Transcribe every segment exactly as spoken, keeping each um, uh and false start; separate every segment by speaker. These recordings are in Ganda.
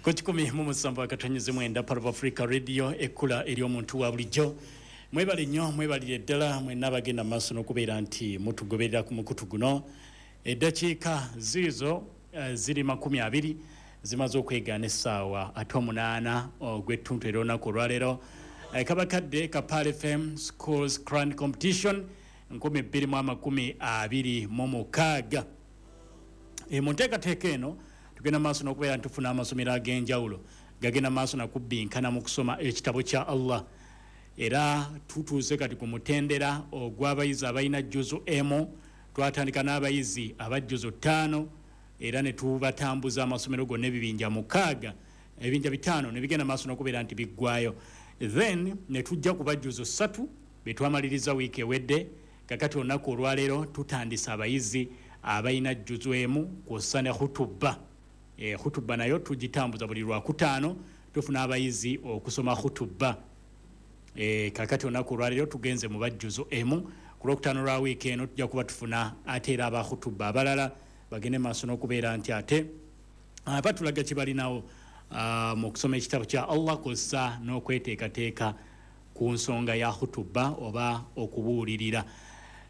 Speaker 1: Ku kikumi mu musanvu akatonyezi mwenda, Part of Africa Radio, ekkula ery'omuntu wa bulijjo. Mwebale nnyo, mwebalire ddala mwenna abagenda mu maaso n'okubeera nti mutugoberera ku mukutu guno. Eddakiika ziizo eh, ziri makumi abiri zimaze okwegaana essaawa ate omunaana ogw'ettuntu era olunaku olwaleero. Eh, kabakadde ka Pearl F M Schools Quran Competition nkumi bbiri mu amakumi abiri mu mukaaga. E, mu nteekateeka eno tugenda maaso n'okubeera nti tufuna amasomero ag'enjawulo gagenda maaso nakubbinkana mu kusoma ekitabo kya Allah, era tutuuse kati ku mutendera ogw'abayizi abalina juzu emu. Twatandika n'abayizi abajjuzu ttaano era ne tubatambuza amasomero gonna, ebibinja mukaaga, ebibinja bitaano ne bigenda maaso n'okubeera nti biggwayo. Then ne tujja ku bajjuzu ssatu betwamaliriza wiiki ewedde. Kakati olunaku olwaleero tutandise abayizi abalina juzu emu kw'ossa ne hutuba. e, hutuba nayo tugitambuza buli lwakutaano, tufuna abayizi okusoma hutuba. e, kakati olunaku olwaleero tugenze mu bajjuzo emu. Ku lwokutaano lwa wiiki eno tujja kuba tufuna ate era abahutuba abalala bagende maaso n'okubeera nti ate ah, batulaga kye balinawo ah, mu kusoma ekitabo kya Allah kw'ossa n'okweteekateeka ku nsonga ya hutuba oba okubuulirira.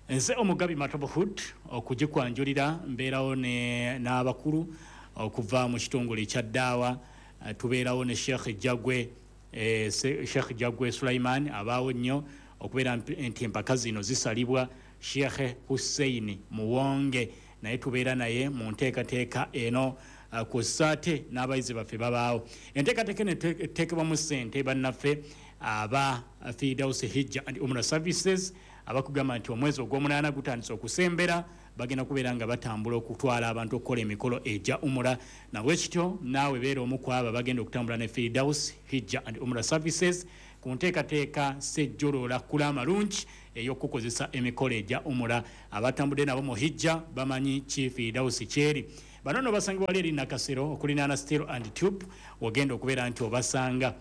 Speaker 1: Nze Omugabi Matobohood okugikwanjulira, mbeerawo ne- n'abakulu okuva mu kitongole ekya Ddaawa. eh, tubeerawo ne Sheikh Jagwe, eh, Se- Sheikh Jagwe Sulaiman abaawo nnyo okubeera mp- nti empaka zino zisalibwa. Sheikh Hussein Muwonge naye tubeera naye mu nteekateeka eno, uh, kw'ossa ate n'abayizi baffe babaawo. Enteekateeka eno ete- eteekebwamu ssente bannaffe aba Fidaus Hijja and Umra Services, abakugamba nti omwezi ogw'omunaana gutandise okusembera, bagenda kubeera nga batambula okutwala abantu okukola emikolo egya umura. Nabwe kityo naawe beera omu ku abo bagenda okutambula ne Fidaus Hijja and Umra Services ku nteekateeka sejjoloola kula amalungi ey'okukozesa emikolo egya umura. Abatambudde nabo mu hijja bamanyi ki Fidaus kyeri. Bano nno basangibwa wali eri Nakasero okulinaana Steel and Tube, wogenda okubeera nti obasanga.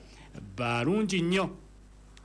Speaker 1: Balungi nnyo,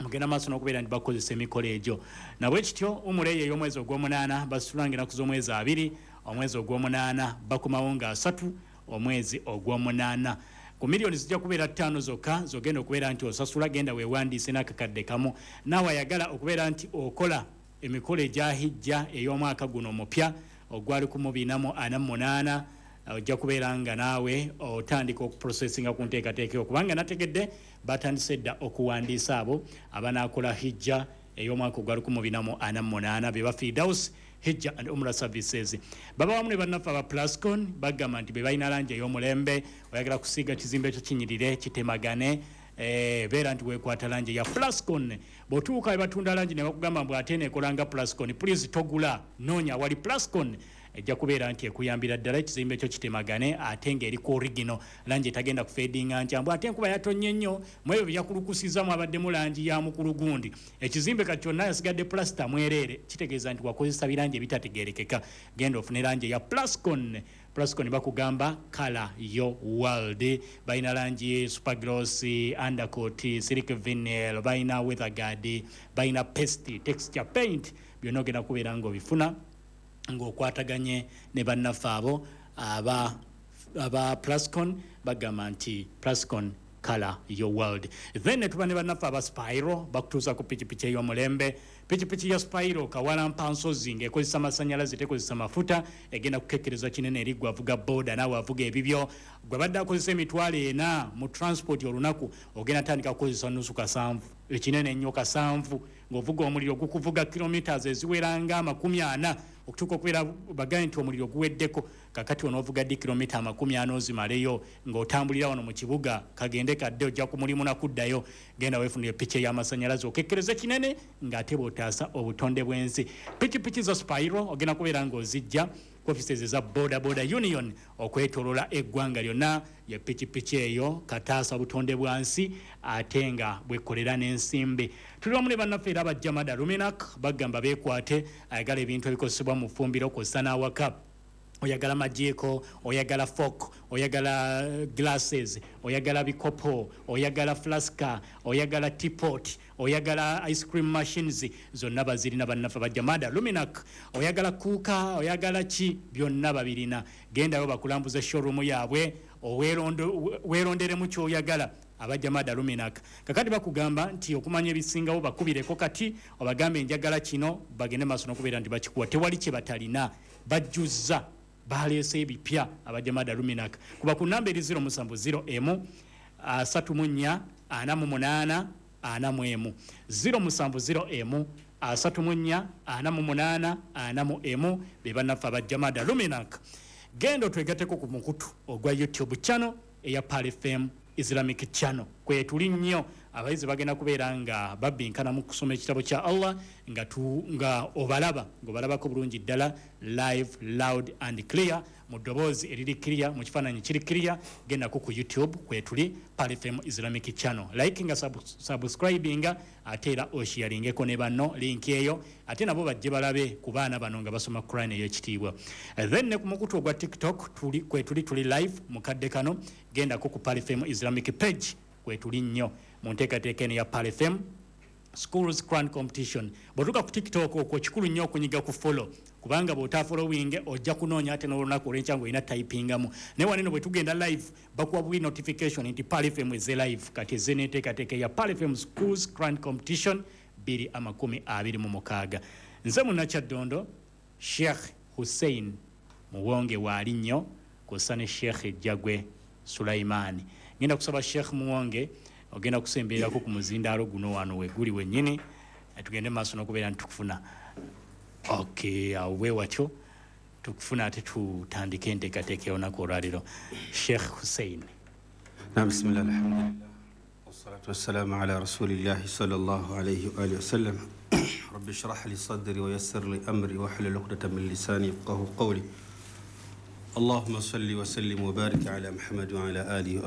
Speaker 1: mugenda maaso n'okubeera nti bakozesa emikolo egyo. Nabwe kityo umura eyo ey'omwezi ogw'omunaana basitulanga ennaku z'omwezi abiri omwezi ogw'omunaana, bakomawo nga asatu omwezi ogw'omunaana. Ku miliyoni zijja kubeera ttaano zokka zogenda okubeera nti osasula. Genda weewandiise n'akakadde kamu. Naawe ayagala okubeera nti okola emikolo egya hijja ey'omwaka guno omupya ogwa lukumi bina mu ana mu munaana, ojja kubeera nga naawe otandika okuprocessinga ku nteekateeka eyo, kubanga nategedde batandise dda okuwandiisa abo abanaakola hijja ey'omwaka ogwa lukumi bina mu ana mu munaana. Be ba Fidaus Hijja and Umra Services baba wamu ne bannaffe aba Plascon, bagamba nti be balina langi ey'omulembe. Oyagala kusiiga kizimbe ekyo kinyirire kitemagane, eh, beera nti weekwata langi ya Plascon. Bw'otuuka we batunda langi ne bakugamba mbu ate neekola nga Plascon, please togula, noonya awali Plascon, ejja kubeera nti ekuyambira ddala ekizimbe ekyo kitemagane ate ng'eriko original langi etagenda kufadinga nkya mbu ate enkuba yatonnye nnyo, mu ebyo byakulukusiza mwabaddemu langi ya mukulu gundi, ekizimbe kati kyonna yasigadde plasita mwereere. Kitegeeza nti wakozesa birangi ebitategeerekeka. Genda ofune langi eya Plascon. Plascon bakugamba "Color your world". Balina langi supergloss, undercoat, silk vinyl, balina weatherguard, balina paste, texture paint. Byonna ogenda kubeera ng'obifuna ng'okwataganye ne bannaffe abo aba aba Plascon. Bagamba nti "Plascon, color your world". Then ne tuba ne bannaffe aba Spiro, bakutuusa ku pikipiki ey'omulembe, pikipiki ya Spiro kawalampa nsozi ng'ekozesa masanyalaze, tekozesa mafuta, egenda kukekkereza kinene eri gwe avuga boda naawe avuga ebibyo. Gwe badde akozesa emitwalo ena mu transport olunaku, ogenda tandika kukozesa nusu kasanvu, ekinene ennyo kasanvu, ng'ovuga omuliro gukuvuga kilometers eziwera nga amakumi ana okutuuka okubeera bagaye nti omuliro guweddeko. Kakati onoovuga ddi kilomita amakumi ana ozimaleyo ng'otambulira wano mu kibuga, kagende kadde ojja ku mulimu nakuddayo? Genda weefunire piki ey'amasanyalaze okekkereze kinene ng'ate bw'otaasa obutonde bw'ensi. Pikipiki za Spiro ogenda kubeera ng'ozijja ku offices eza Boda Boda Union okwetolola eggwanga lyonna. Ye pikipiki eyo kataasa butonde bwa nsi ate nga bwekolera n'ensimbi. Tuli wamu ne bannaffe era abajjamada Luminak, bagamba beekwate ayagala ebintu ebikozesebwa mu ffumbiro kw'ossa n'awaka. Oyagala majiiko, oyagala fork, oyagala glasses, oyagala bikopo, oyagala flaska, oyagala teapot, oyagala ice cream machines, zonna bazirina bannaffe bajjamada Luminac. Oyagala kuuka, oyagala ki, byonna babirina. Gendayo bakulambuza showroom yaabwe. weeronderemu ky'oyagala. Abajamada Luminak kakati bakugamba nti okumanya ebisingawo bakubireko kati obagambe enjagala kino, bagende maaso n'okubeera nti bakikuwa. Tewali kye batalina, bajjuzza, baleese ebipya abajamada Luminak. Kuba ku namba eri zero musanvu zero emu asatu mu nnya ana mu munaana ana mu emu, zero musanvu zero emu asatu mu nnya ana mu munaana ana mu emu, be bannaffe abajamada Luminak. Genda otwegatteko ku mukutu ogwa YouTube channel eya Pearl F M Islamic Channel, kwe tuli nnyo. Abayizi bagenda kubeera nga babbinkana mu kusoma ekitabo kya Allah nga tu, nga obalaba ng'obalabako bulungi ddala live, loud and clear, mu ddoboozi eriri clear, mu kifaananyi kiri clear. Gendako ku YouTube kwe tuli Pearl F M Islamic Channel, likinga, sub, subscribinga, ate era osharingeko ne banno link eyo, ate nabo bajje balabe ku baana bano nga basoma Quran ey'ekitiibwa. Then ne ku mukutu ogwa TikTok tuli kwe tuli tuli live mu kadde kano. Gendako ku Pearl F M Islamic page kwe tuli nnyo mu nteekateeka eno ya Pearl F M Schools Quran Competition. Bw'otuuka ku TikTok okwo kikulu nnyo okunyiga ku follow, kubanga bw'otafollowinge ojja kunoonya ate n'olunaku olw'enkya ng'olina typingamu. Naye wano eno bwe tugenda live bakuwa bwi notification nti Pearl F M eze live. Kati eze n'enteekateeka ya Pearl F M Schools Quran Competition bbiri amakumi abiri mu mukaaga. Nze Munnakyaddondo Sheikh Hussein Muwonge waali nnyo kw'ossa ne Sheikh Jjagwe Sulaiman. Ngenda kusaba Sheikh Muwonge ogenda kusembererako ku muzindaalo guno wano we guli wennyini, tugende maaso n'okubeera nti tukufuna. Okay, awo bwe watyo tukufuna ate tutandike enteekateeka y'olunaku olwaleero. Sheikh Hussein.
Speaker 2: Naam, bismillah, alhamdulillah, wassalatu wassalamu ala rasulillahi sallallahu alayhi wa alihi wasallam. Rabbi shrah li sadri wa yassir li amri wahlul uqdatan min lisani yafqahu qawli. Allahumma salli wa sallim wa barik ala Muhammad wa ala alihi wa